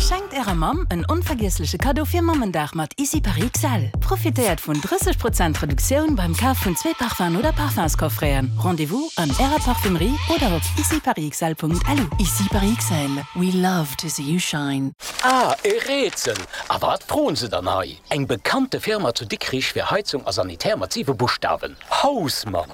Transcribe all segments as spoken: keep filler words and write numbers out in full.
Schenkt ärer Mamm en onvergiessleche Kaddo fir Mammendag mat Ici Paris XL. Profitéiert vun drësseg Prozent Reduktioun beim Kaf vun zwee Parfumsen oder Parfumscoffreten. Rendez-vous an ärer Parfumerie oder op iciparisxl.lu. Ici Paris XL. We love to see you shine. Ah, e Rätsel! A wat froen se dann hei? Eng bekannte Firma zu Dikrich fir Heizung a Sanitär mat siwe Buschtawen. Hausmann!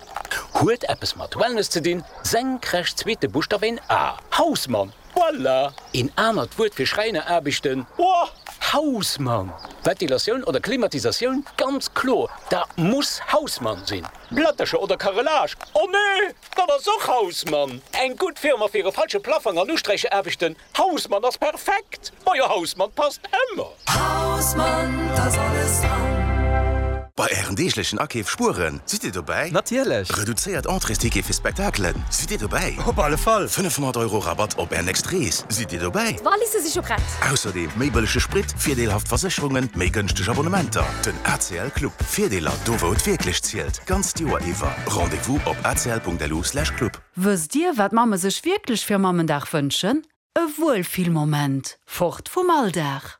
Huet eppes mat Wellness ze dinn, senkrecht zweete Buschtaf een A. Hausmann! Voilà! Een anert Wuert fir Schräineraarbechten? Oh, Hausmann! Ventilatioun oder Klimatisatioun? Ganz kloer, dat muss Hausmann sinn. Plättercher oder Carrelage? Oh nee, dat ass och Hausmann! Eng gutt Firma fir e falsche Plafang an Usträichaarbechten? Hausmann ass perfekt! Majo, Hausmann passt ëmmer! Hausmann, da ass alles dran. Bei ären deeglechen Akeef spueren, sidd Dir dobäi? Natierlech! Reduzéiert Entréesticket fir Spektakelen, sidd Dir dobäi? Op alle Fall! fënnefhonnert Euro Rabatt op Är nächst Rees, sidd Dir dobäi? D'Walisse si scho prett. Ausserdeem méi bëllege Sprit, virdeelhaft Versécherungen, méi gënschteg Abonnementer. Den A C L Club. Virdeeler do wou et wierklech zielt. Ganzt Joer iwwer. Rendez-vous op A C L Punkt L U slash club. Wësst Dir, wat Mamme sech wierklech fir Mammendag wënschen? E Wuelfillmoment, fort vum Alldag.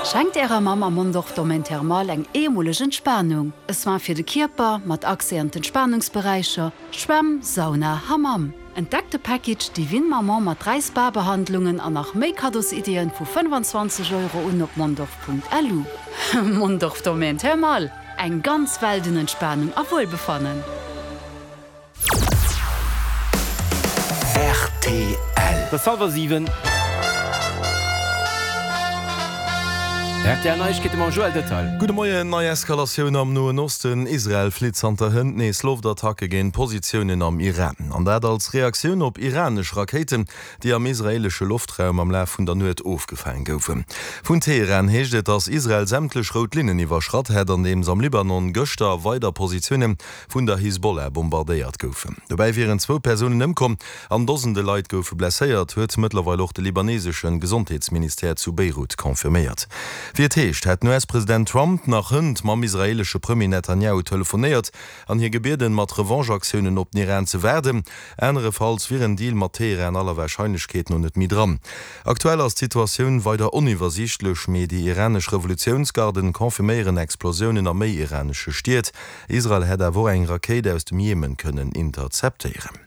Schenkt ärer Mamm am Mondorf Domaine Thermal eng eemoleg Entspanung. E Soin fir de Kierper mat Accès an d'Entspannungsberäicher, Schwämm, Sauna, Hammam. Entdeckt de Package Divine Maman mat dräi Spa-Behandlungen an nach méi Kaddosiddien vu fënnfanzwanzeg Euro un op mondorf Punkt L U. Mondorf Domaine Thermal, eng ganz Welt un Entspanung a Wuelbefannen. R T L. Et ass hallwer siwen. R T L Neiegkeete mam Joël Detail. Gudde Moien. Nei Eskalatioun am Noen Osten, Israel flitt zanter hënt nees Loftattacke géint Positiounen am Iran. An dat als Reaktioun op iranesch Rakéiten, déi am israeelesche Loftraum am Laf vun der Nuet ofgefaange goufen. Vun Teheran heescht et, datt Israel sämtlech rout Linnen iwwerschratt hätt, andeems am Libanon gëschter weider Positioune vun der Hisbollah bombardéiert goufen. Dobäi wieren zwou Persounen ëmkomm an Dosende Leit goufe blesséiert, huet mëttlerweil och de libaneesesche Gesondheetsministère zu Beirut confirméiert. Wéi et heescht, hätt den U S-President Trump nach hënt mam israeelesche Premier Netanjahu telefonéiert an hie gebieden, mat Revanche-Aktiounen op den Iran ze waarden. Anerefalls wier en Deal mat Teheran aller Warscheinlechkeet no net méi dran. Aktuell ass d'Situatioun weider oniwwersiichtlech, mee déi iranesch Revolutiounsgarden confirméieren Explosiounen a méi iranesche Stied. Israel hätt awer och eng Rakéit aus dem Jemen kënnen interceptéieren.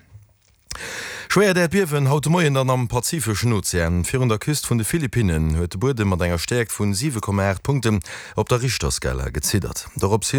Schwéiert Äerdbiewen haut de Moien dann am Pazifeschen Ozean. Virun der Küst vun de Philippinnen huet de Buedem mat enger Stäerkt vun siwe Komma aacht Punkten op der Richterskala geziddert. Dorops hin